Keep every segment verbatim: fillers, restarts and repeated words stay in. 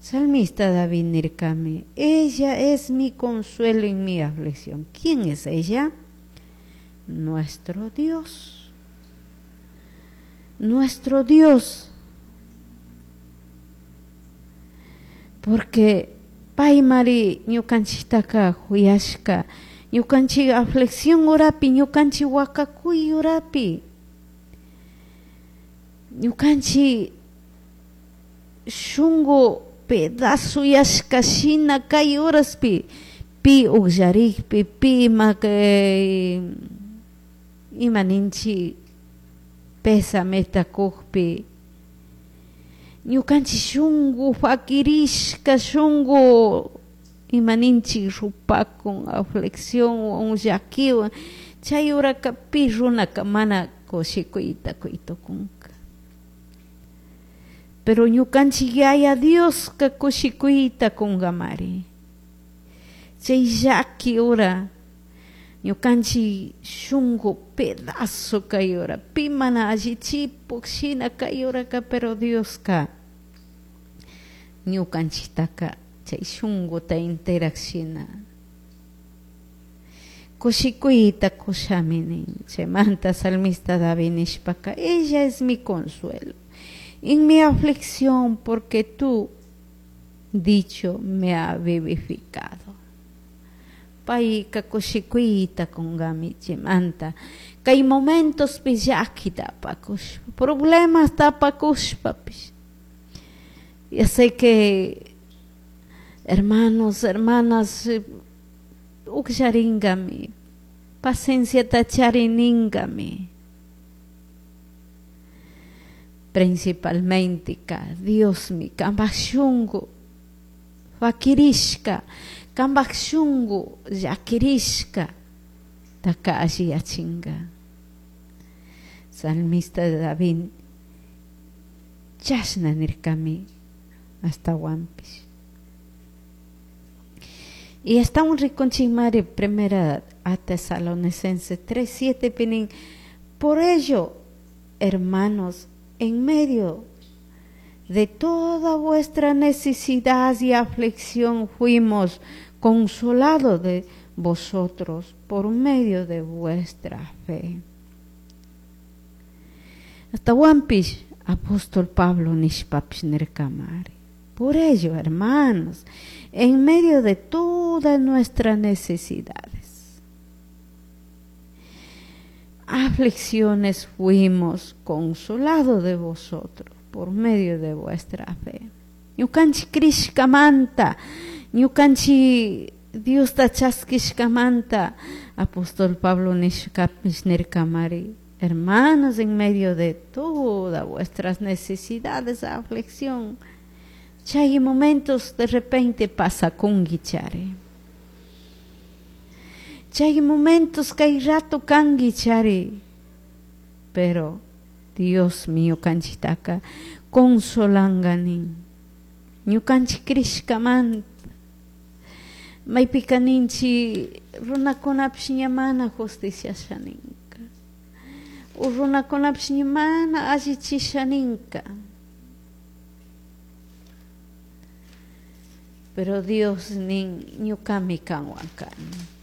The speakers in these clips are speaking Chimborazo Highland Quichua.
Salmista David nirkami, ella es mi consuelo en mi aflicción. ¿Quién es ella? Nuestro Dios. Nuestro Dios. Porque paymari ñukanchiktaka huyashka, ñukanchik aflicción urapi, ñukanchik wakakuy urapi, ñukanchik shunku pedazo yashka shina kay horaspi pi ukllarikpi, pi ima ima ninchik pesameta kukpi, ñukanchik shunku fakirishka shunku ima ninchik rupakun aflicción llakiwan chay horaka pi runaka mana kushikuyta kuytukunka. Pero ñukanchik Yaya Dioska kushikuyta kunkamari chay llaki hora ñukanchik shunku pedazo kay hora pi mana allichipuk shina kay horaka, pero Dioska ñukanchiktaka chay shunkuta interak shina kushikuyta kushami nin. Chaymanta salmista David nishpaka, ella es mi consuelo en mi aflicción, porque tú dicho me ha vivificado. Payka kushikuyta kunkami chaymanta kay momentospi llakita apakushpa, problemas apakushpapish. Ya sé que hermanos, hermanas, ukllarinkami, pacienciata charininkami. Principalmente ka Diosmi kanpak shunku fakirishka, kanpak shunku llakirishka taka alliyachinka. Salmista David chashna nirkami ashtawanpish. Y ashtawan rikunchikmari primera a Tesalonicenses tres siete pinin, por ello, hermanos, en medio de toda vuestra necesidad y aflicción fuimos consolados de vosotros por medio de vuestra fe. Hasta Wampish, apóstol Pablo nishpapish nirkamari. Por ello, hermanos, en medio de todas nuestras necesidades, aflicciones, fuimos consolados de vosotros por medio de vuestra fe. Ñukanchik krishkamanta, ñukanchik Diosta chaskishkamanta, apóstol Pablo nishkapish nirkamari, hermanos, en medio de todas vuestras necesidades, aflicción, chay momentos de repente pasa kungi chari. Chay momentos kay rato kangi chari, pero Dios mío kanchitaka consolanganin. Ñukanchik krishkamanta maypika ninchi runakunapish ña mana justiciasha ninka, o runakunapish ña mana allichisha ninka, pero Dios nin ñukami kanwan kani,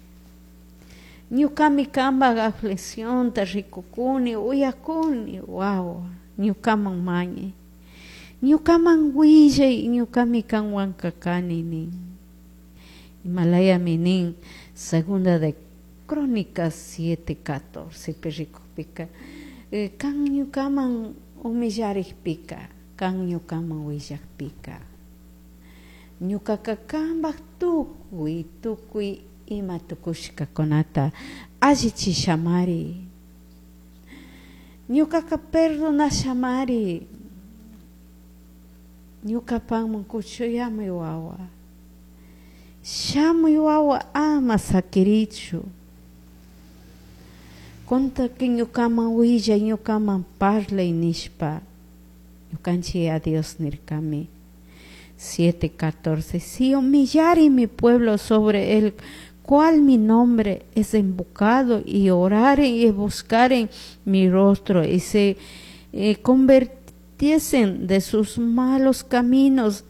ñukami kanpak afliccionta rikukuni, uyakuni, wawa ñukaman mañay, ñukaman willay, ñukami kanwanka kani nin. Himalayami nin segunda de Crónicas siete catorce rikukpika, kan ñukaman humillarikpika, kan ñukaman willakpika, ñukaka kanpak tukuy tukuy ima tukushkakunata allichishamari, ñukaka perdonashamari, ñukapanman kuchuyami wawa, shamuy wawa ama sakirichu, contaki ñukaman willay, ñukaman parlay nishpa, ñukanchik a Dios nirkami. siete catorce, si humillare mi pueblo sobre el cual mi nombre es invocado, y oraren y buscaren mi rostro, y se eh, convirtiesen de sus malos caminos,